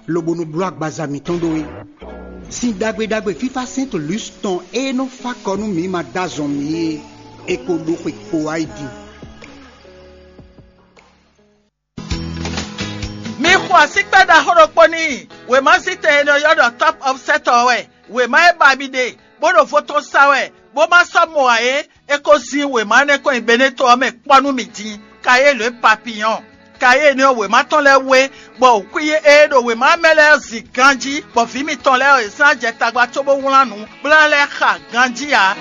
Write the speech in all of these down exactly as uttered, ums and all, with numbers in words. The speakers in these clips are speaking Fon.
lobo nɔ bló agbaza mǐtɔn ɖó é. Sin ɖagbe ɖagbe fífá Sɛ́nto Lus tɔn e nɔ fá kɔ nú mǐ ma dó azɔn mǐ é, è ko ɖo xwe kpo wá yi din. Mi xo asíkpɛ́ ɖaxó ɖokpó n'i. Wěmazítɛn e nɔ ylɔ́ ɖɔ Top of Set ɔ́ wɛ. Wěma e ba mi ɖe, bó ɖo vo tɔn sa wɛ, bó ma sɔ́ mɔ ǎ é, é ko zín wěma énɛ́ kɔn nyi Beneto ɔ́ mɛ kpɔ́ nú mì din. Kayélu e papiyɔn. Kayélu énɛ́ ɔ́, wěma tɔn lɛ́ɛ wú é, bɔ wǔkwín e ɖo wěma mɛ lɛ́ɛ ɔ́ zin ganjí, bɔ vǐ mitɔn lɛ́ɛ ɔ́, yě sɔ́ ná jɛ tagba cóbó wlán nǔ, bó ná lɛ́ xa ganjí ǎ.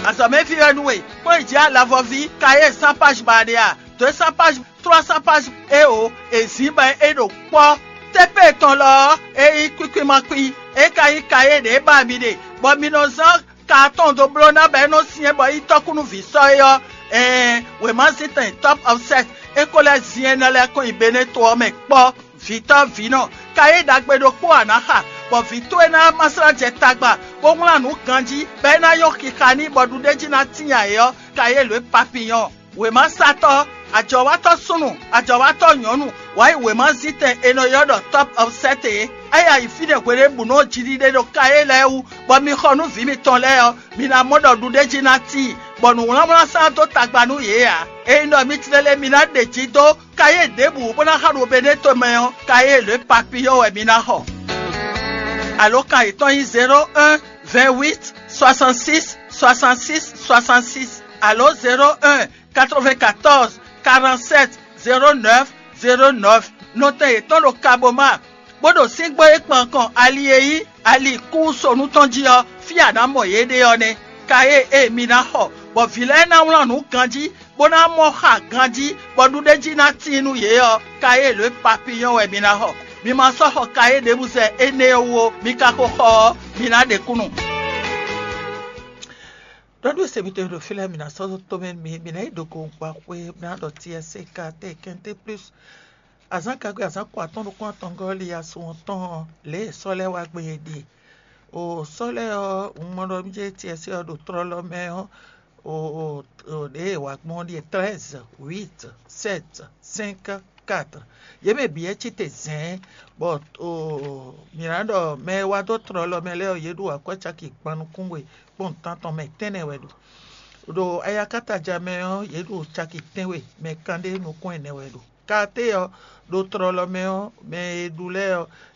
Azɔ̌mɛví wɛ nú we, kpɔ́n yi jǐ alavɔví Kayélu sín páji ba ɖe a? Dǒ e sín páji, tlɔ́ sín páji éeǒ, è zǐn bɔ é ɖo kpɔ́. Tépée tɔn lɔ ɔ́, é nyí kwíkwímakwí, é ka nyí kayé ɖě ba mi ɖe, bɔ mi nɔ zán ka tɔn dó bló ná bɔ é nɔ syɛ́n bɔ é nyí tɔ́kúnúví sɔ́ é ɔ́, ɛɛn, wěmazíntɛn Top of Set é ko lɛ́ zin énɛ́ lɛ́ɛ kɔn nyi Beneto ɔ́ mɛ kpɔ́. Vǐtɔ́ vǐnɔ, kayé ɖagbe ɖokpó a nǎ xa, bɔ vǐ towe ná ma slá jɛ tagba, bó wlán nǔ ganjí, bɔ é ná nyɔ́ xixa n'i bɔ ɖuɖéjí ná tíin ǎ é ɔ́, kayé lǒ e papiyɔn. Wěmasatɔ́, ajɔ̌watɔ́ súnnu, ajɔ̌watɔ́ nyɔ̌nu, wǎ yi wěmazíntɛn è nɔ ylɔ́ ɖɔ Top of Set é. É yi ayǐ fínɛ́ hweɖěbǔnu ɔ́ jiɖiɖe ɖo kayé lɛ́ɛ wú, bɔ mi xɔ nú vǐ mitɔn lɛ́ɛ ɔ́, mi ná mɔ ɖɔ ɖuɖéjí ná tíin, bɔ nǔwlánwlán sán dó tagba nú yě ǎ. Ényí ɖɔ mi tlélé mi ná ɖe jǐ dó kayé ɖěbǔ bó ná xa ɖo Beneto mɛ ɔ́, kayé lě papiyɔ́ wɛ mi ná xɔ. Alǒkan yětɔn nyí zéro un, vingt huit, soixante six, soixante six, soixante six, alo zéro un, quatre vingt quatorze, quarante sept, zéro neuf, zéro neuf. Nɔtɛn yětɔn ɖo Kaboma, bó ɖo síngbó e kpan kɔn ali e nyí ali kúsonu tɔn jí ɔ́, fí a nǎ mɔ yě ɖe ɔ́ nɛ́. Kayé e mi ná xɔ, bɔ vǐ lɛ́ɛ ná wlán nǔ ganjí, bó ná mɔ xa ganjí, bɔ ɖuɖéjí ná tíin nú yě ɔ́, kayé lě papiyɔ́ wɛ mi ná xɔ. Mi ma sɔ́ xɔ kayé ɖěbǔ zɛ énɛ́ ɔ́ wú ó, mi ka ko xɔ ɔ́, mi ná ɖe kúnnu. Ɖɔɖú e se mitɔn ɖo fí lɛ́ɛ, mi ná sɔ́ dó tomɛ nú mì, mi ná yi ɖo gowungba xwé, mi ná ɖɔ T S C K T, Quinté Plus. Azǎn kagbe azǎn ko atɔ́ɔ́n nukún atɔngɔ́ li asun ɔ́ tɔn ɔ́, lě e sɔ́ lɛ́ɛ wá gbé é ɖíe. O sɔ́ lɛ́ɛ ɔ́, un mɔ ɖɔ mí jɛ T S C ɔ́ ɖo tlɔ́lɔ́ mɛ ɔ́, o ɖě e wǎ gbɔn ɔ́ ɖíe: treize, huit, sept, cinq, quatre. Yě mɛ bǐ wɛ cí te zɛ̌n, bɔ mǐ ná ɖɔ mɛ e wá dó tlɔlɔ mɛ lɛ́ɛ ɔ́, yě ɖo akwɛ́ caki gban nukún we kpɔ́n nǔtán tɔn mɛ tɛ́nnɛ wɛ ɖo. Ɖo ayakátaja mɛ ɔ́, yě ɖo caki tɛ́nwe mɛ kanɖé nukún ɛnɛ wɛ ɖo. Katé ɔ́, ɖo tlɔlɔ mɛ ɔ́, mɛ e ɖu lɛ́ɛ ɔ́,